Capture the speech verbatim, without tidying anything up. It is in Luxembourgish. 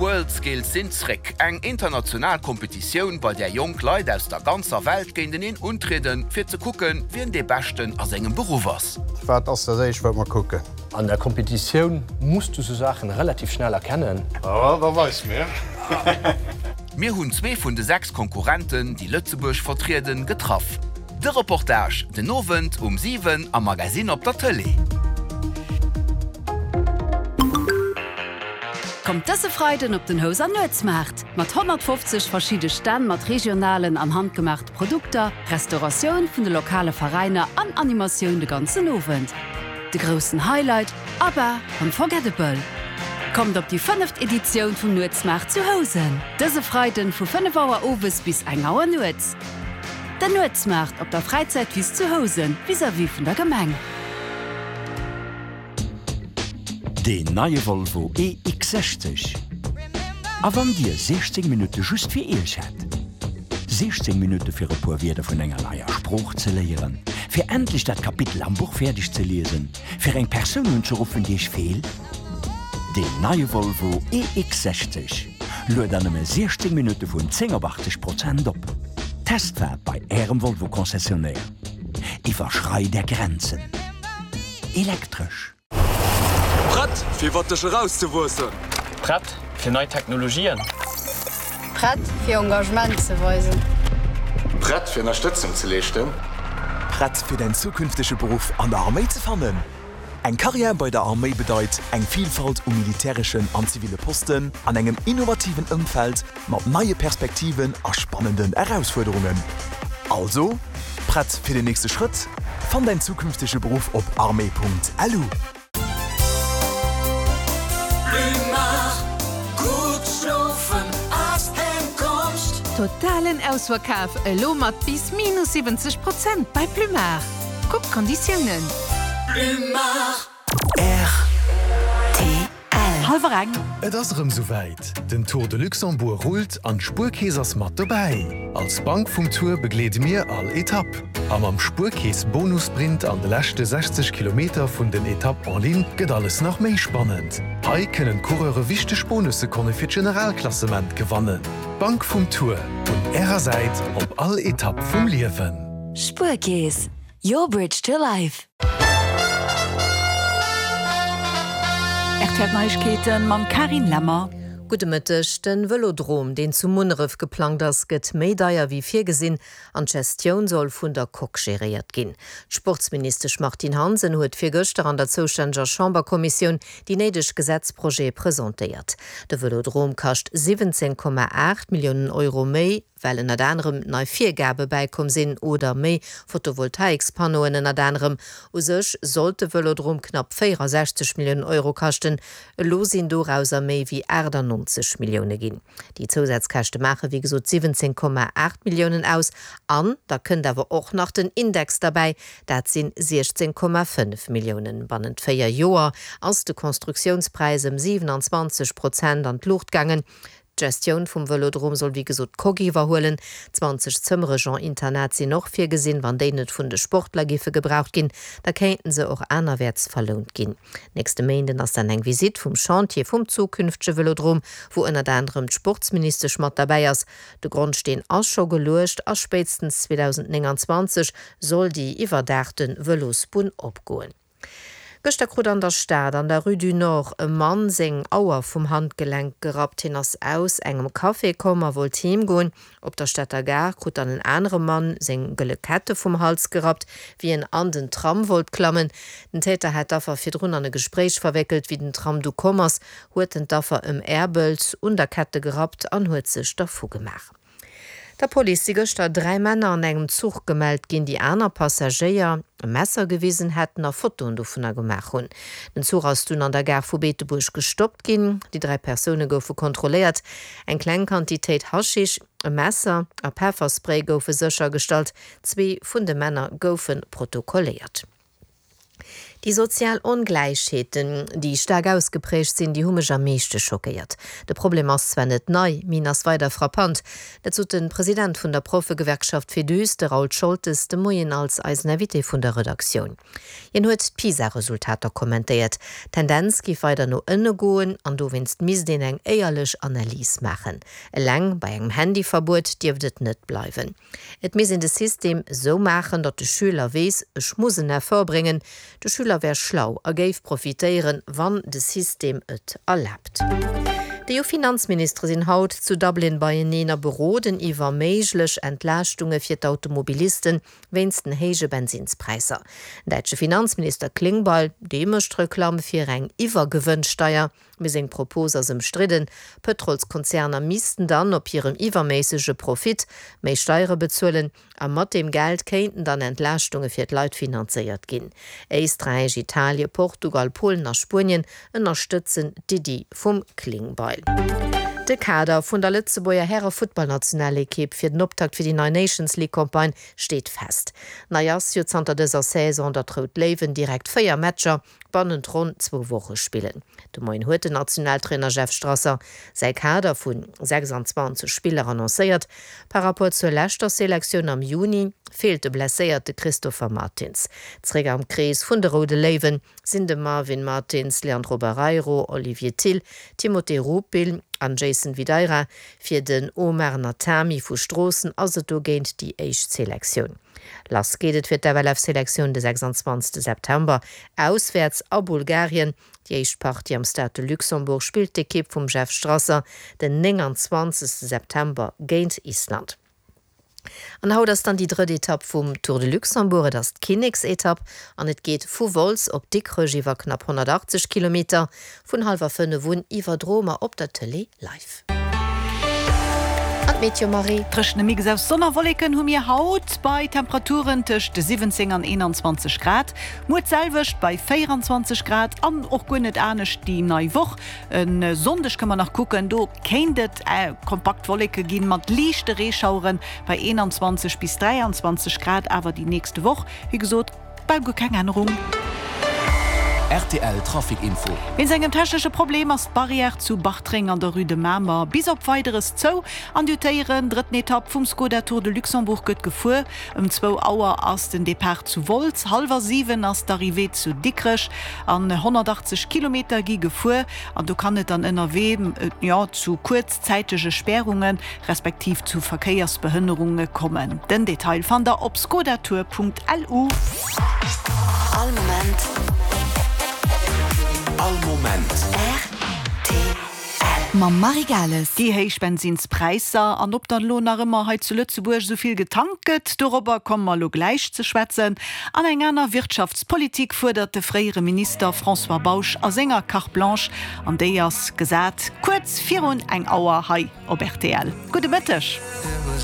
D'World Skills sinn zréck, eng international Kompetitioun, bei där jonk Leit aus der ganzer Welt géinteneen untrieden, fir ze kucken, wien dee Beschten a sengem Beruff ass. Wat ass dat éischt, wat mer kucken? An der Kompetitioun muss du sou Saachen relativ schnell erkennen. Oh, da weis mir. Mir hunn zwee vun de sechs Konkurrenten, déi Lëtzebuerg vertrieden, getraff. De Reportage den Owend um siwen am Magasinn op der Tëlee. Kommt dëse Freiden op den Houser Nuetsmaart! Mat honnertfofzeg verschidde Stänn mat regionalen an handgemaachte Produkter, Restauratioun vun de lokale Veräiner an Animatioun de ganzen Owend. De groussen Highlight, ABBA Unforgettable! Kommt op déi fënneft Editioun vum Nuetsmaart zu Housen! Dëse Freiden vu fënnef Auer owes bis eng Auer nuets. Den Nuetsmaart op der Fräizäitwiss zu Housen, vis-à-vis vun der Gemeng. Deen neie Volvo E X sechzeg. A wann Dir siechzéng Minutte just fir Iech hätt? Siechzéng Minutte fir e puer Wierder vun enger neier Sprooch ze léieren, fir endlech dat Kapitel am Buch fäerdeg ze liesen, fir eng Persoun unzeruffen, déi Iech feelt? Deen neie Volvo E X sechzeg luet an nëmme siechzéng Minutte vun zéng op achtzeg Prozent op. Testfaart bei Ärem Volvo-Concessionnaire. Iwwerschreit Är Grenzen. Elektresch. Prett fir iwwer dech erauszewuessen. Prett fir nei Technologien. Prett fir Engagement ze weisen. Prett fir Ënnerstëtzung ze leeschten. Prett fir däin zukünftege Beruff an der Arméi ze fannen? Eng Karriär bei der Arméi bedeit eng Vilfalt u militäreschen an ziville Posten an engem innovativen Ëmfeld mat neie Perspektiven a spannenden Erausfuerderungen. Also, prett fir den nächste Schrëtt? Fann däin zukünftege Beruff op armee Punkt lu. Totalen Ausverkaf, elo mat bis minus siwwenzeg Prozent bei Plumar. Kuckt d'Konditiounen. R T L. Hallwer eng. Et ass erëm souwäit, Den Tour de Luxembourg rullt an d'Spuerkeess ass mat dobäi! Als Bank vum Tour begleede mir all Etapp. A mam Spuerkeess Bonussprint an de leschte sechzeg Kilometer vun den Etapp en ligne gëtt alles nach méi spannend. Hei kënnen d'Coureure wichteg Bonussekonne fir d'Generalklassement gewannen. D'Bank vum Tour, un Ärer Säit op all Etapp vum Liewen. Spuerkeess, your bridge to life. R T L Neiegkeeten mam Carine Lemmer. Gudde Mëtteg. Den Vëlodrom, deen zu Munneref geplangt ass, gëtt méi deier wéi virgesinn an d'Gestioun soll vun der Coque geréiert ginn. D'Sportsministesch Martine Hansen huet virgëschter an der zoustänneger Chamberkommissioun déi néideg Gesetzprojete presentéiert. De Vëlodrom kascht siwwenzéng Komma aacht Milliounen Euro méi, well ënnert anerem nei Virgabe bäikomm sinn oder méi Photovoltaikspannoen ënnert anerem. U sech sollt de Vëlodrom knapp véierasechzeg Milliounen Euro kaschten, elo sinn dorauser méi wéi aachtannonzeg Millioune ginn. Déi Zousazkäschte maache wéi gesot siwwenzéng Komma aacht Milliounen aus an da kënnt awer och nach den Index derbäi, dat sinn siechzéng Komma fënnef Milliounen. Bannent véier Joer ass de Konstruktiounspräis ëm siwenanzwanzeg Prozent an d'Luucht gaangen. D'Gestioun vum Vëlodrom soll wéi gesot d'Coque iwwerhuelen. Zwanzeg Zëmmere genre Internat sinn och virgesinn. Wann déi net vun de Sportler giffe gebraucht ginn, da kéinten se och anerwäerts verlount ginn. Nächste Méinden ass dann eng Visitt vum Chantier vum zukünftege Vëlodrom, wou ënnert anerem d'Sportsministesch mat derbäi ass. De Grondsteen ass scho geluecht a spéitstens zweedausendnénganzwanzeg soll déi iwwerdaachte Vëlosbunn opgoen. Gëschter krut an der Stad an der Rue du Nord e Mann seng Auer vum Handgelenk gerappt. Hien ass aus engem Café komm a wollt heem goen. Op der Stater Gare krut dann en anere Mann seng gëlle Kette vum Hals gerappt, wéi en an den Tram wollt klammen. Den Täter hat d'Affer virdrun an e Gespréich verwéckelt. Wéi den Tram du komm ass, huet en d'Affer ëmäerbelt, un der Kette gerappt an huet sech dervu gemaach. Der Police si gëschter dräi Männer an engem Zuch gemellt ginn, déi aner Passagéier e Messer gewisen hätten a Fotoen dovunner gemaach hunn. Den Zuch ass dunn an der Gare vu Beetebuerg gestoppt ginn. Déi dräi Persoune goufe kontrolléiert. Eng kleng Quantitéit Haschisch, e Messer a Pefferspray goufe séchergestallt. Zwee vun de Männer goufe protokolléiert. Déi sozial Ongläichheeten, déi staark ausgeprägt sinn, déi hu mech am meeschte schockéiert. De Problem ass zwar net nei, mee en ass weider frappant. Dat sot de President vun der Proffegewerkschaft Féduse, de Raoul Scholtes, de Moien als eisen Invité vun der Redaktioun. Hien huet d'PISA-Resultater kommentéiert. D'Tendenz géif weider no ënne goen an dowéinst misst een eng éierlech Analys maachen. Eleng bei engem Handyverbuet dierft et net bleiwen. Et misst een de System esou maachen, datt de Schüler weess, ech muss en Effort bréngen. De Schüler wär schlau a géif profitéieren, wann de System et erlaabt. D'EU-Finanzministere sinn haut zu Dublin beieneen a beroden iwwer méiglech Entlaaschtunge fir d'Automobilisten wéinst den héije Bensinnspräisser. Den däitsche Finanzminister Klingbeil, dee mécht Reklamm fir eng Iwwergewënnsteier, mee seng Propos ass ëmstridden. Pëtrolskonzerner missten dann op hirem iwwerméissege Profit méi Steiere bezuelen a mat deem Geld kéinten dann Entlaaschtunge fir d'Leit finanzéiert ginn. Éisträich, Italie, Portugal, Polen a Spuenien ënnerstëtzen d'Iddi vum Klingbeil. De Kader vun der Lëtzebuerger Häre-Futtballnationalekipp fir den Optakt fir déi nei Nations League Campagne steet fest. Nei ass jo zanter dëser Saison, datt d'Rout Léiwen direkt véier Matcher bannent ronn zwou Woche spillen. De Moien huet den Nationaltrainer Jeff Strasser säi Kader vu sechsanzwanzeg Spiller annoncéiert. Par Rapport zur leschter Selektioun am Juni feelt de blesséierte Christopher Martins. Zeréck am Krees vun de Roude Léiwen sinn de Marvin Martins, Leandro Barreiro, Olivier Thill, Timothé Rupil an Jason Videira. Fir den Omar Natami vu Stroossen ass et dogéint déi éischt Selektioun. Lass geet et fir d'FLF-Selektioun de sechsanzwanzegste September auswäerts a Bulgarien. Déi éischt Partie am Stade de Luxembourg spillt d'Ekipp vum Jeff Strasser den nénganzwanzegste September géint Island. An haut ass dann déi drëtt Etapp vum Tour de Luxembourg. Et ass d'Kinneksetapp an et geet vu Wolz op Dikrech iwwer knapp honnertachtzeg Kilometer. Vun hallwer fënnef un iwwerdroe mer op der Tëlee live. An d'Meteo Marie. Dréchene Mix aus Sonn a Wolleken hu mir haut bei Temperaturen tëscht siwwenzéng an eenanzwanzeg Grad. Muer d'selwecht bei véieranzwanzeg Grad an och guer net anescht déi nei Woch. E Sonndeg kënne mer nach kucken, do kéint et kompakt Wolleke ginn mat liichte Reeschaueren bei eenanzwanzeg bis dräianzwanzeg Grad. Awer déi nächste Woch, wéi gesot, bal guer keng Ännerung. Rtl Trafic Info. Wéinst engem technesche Problem ass d'Barrière zu Bartreng an der Rue de Mamer bis op Weideres zou. An déi drëtten Etapp vum Skoda Tour de Luxembourg gëtt gefuer. Ëm zwou Auer ass den Depart zu Wolz, hallwer siwen ass d'Arrivée zu Dikrech an honnertachtzeg Kilometer gi gefuer. An do kann et dann ënnerwee jo zu kuerzzäitege Spärunge respektiv zu Verkéiersbehënnerunge kommen. Den Detail fannt der op skodatour.lu. All Moment. All Moment. Rtl. Mam Marie Gales. Déi héich Bensinnspräisser an ob dann elo nach ëmmer hei zu Lëtzebuerg esou vill getankt gëtt, dorobber komme mer elo gläich ze schwätzen. An eng aner Wirtschaftspolitik fuerdert de fréiere Minister François Bausch a senger Carte Blanche an déi ass gesat kuerz virun eng Auer hei op rtl. Gudde Mëtteg.